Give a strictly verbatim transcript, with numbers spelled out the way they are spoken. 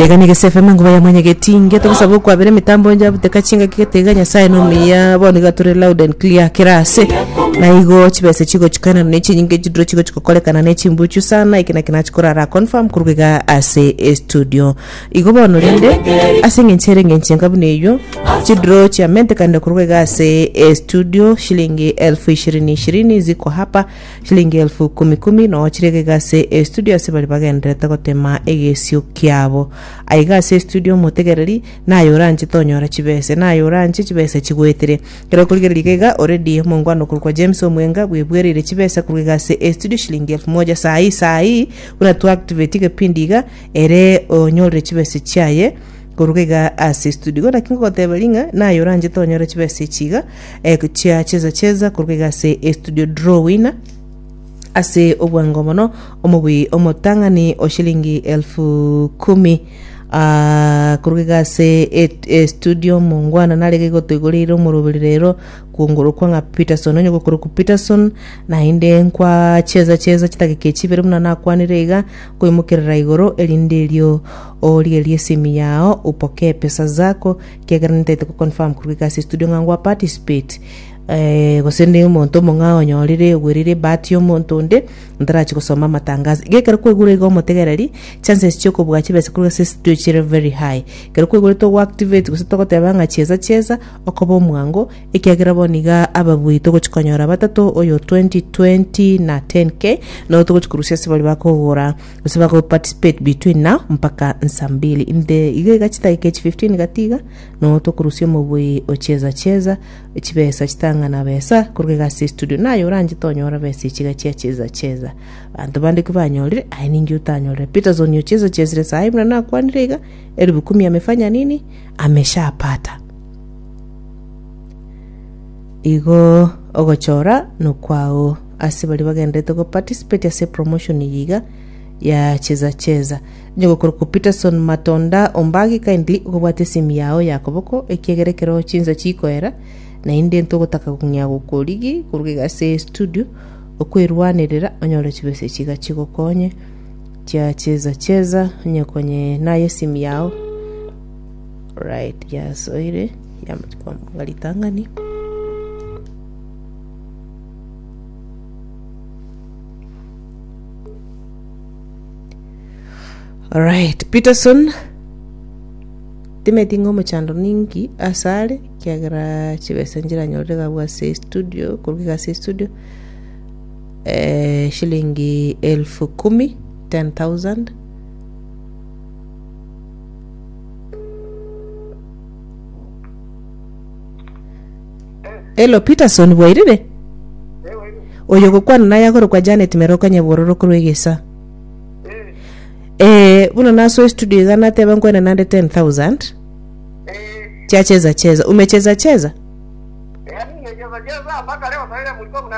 Iga nigo F M enguba ya mwanyagetinge togosaba okwabera emitambo njabuteka chingaki gete iga Nyasaye nomiya bono iga tore loud and clear kera ase na igo chibesa chigochikana na chinyinge chiduro chigochikokorekana na echimbuchu sana eke naki nachikorara confirm koruga iga ase estudio. Igo bono rende ase eng'encho ere eng'encho enga buna eywo chidraw chiamentekanire koruga iga ase estudio, shilingi elfu ishirini ishirini ziko hapa, shilingi elfu kumi kumi noo chire iga ase estudio ase bari bagenderete gotema egesio kiabo aiga ase estudio. Omotegereri naye oranche tonyora chibese, naye oranche chibese chigwetere kero okorigereria iga iga already omongwana okorokwa James Omwenga bwebwereire chibesa koruga iga ase estudio, shilingi elfu moja sahi sahi buna tu activate egepindi iga ere onyorire chibese chiaye koruga iga ase studio. Igo naki ngogoteba ring'a naye oranche tonyora chibesa echi iga eh, chia cheza cheza koruga iga ase estudio, draw winner ase obwango mono omobui omotang'ani o shilingi elfu kumi Ah, koruga iga ase e- e studio mongwana narege gotoigoreire omoroberi rero kuongorokwa ng'a Peterson onye gokorokwa Peterson naende nkwa cheza cheza chitageka echibere buna nakwanire iga koimokerera igoro erinde erio origererie esimi yao upokee pesa zako kiagera nitaete kuconfirm koruga iga ase studio ng'a ngwa participate eh, gose ni omonto omong'ao onyorire ogwerire ebahati ya omonto onde ntarachi gosoma amatangazo. Iga ekero kwaigure iga omotegereri chances chiokobua chibesa korwa ase studio chire very high ekero kwaigure togoactivate gose togoteba ng'a cheza cheza okoba omwango ekiagera bono iga ababui togochi konyora batato oyo twenty twenty na ten k no togochi korusia ase bari bakogora gose bako participate between now mpaka nsa mbili inde iga iga chidakika echi fifteen gati iga no tokorusia omobui ocheza cheza chibesa chitang'ana besa koruga iga ase studio. Naye oranche tonyora besa echiga chia cheza cheza banto bande kibanyorire aye ninki otanyorire. Peterson ocheza chezire sahi buna nakwanire iga elfu kumi amefanya nini, ameshapata. Igo ogochora nokwao ase bari bagenderete go participate ase promotion iyi iga ya cheza cheza nyogokorokwa Peterson Matonda Ombagi, kindly okobwata esimi yao ya koboko ekiagera ekero chinsa chikoera naende ntogotaka kong'ea gokorigi koruga iga ase studio okwerwanerera onyore chibesa chiga chigokonye chia cheza cheza onye konye naye esimi yao right yasoire yamanga ritang'ani. Alright, Peterson timeti ng'a omochando ninki asare kiagera chibesa nchiranyorire gabwo ase studio koruga iga ase studio eh, shilingi elfu kumi, ten thousand. Hello Peterson, bwairire? Oyo gokwana naye akorokwa Janet Meroka Nyabororo korwa Egesa. Eh, buna naso studio iga nateba nkwene nande ten thousand chia cheza cheza, umecheza cheza. Yaani nimecheza cheza mpaka leo sasa mlikuwa mna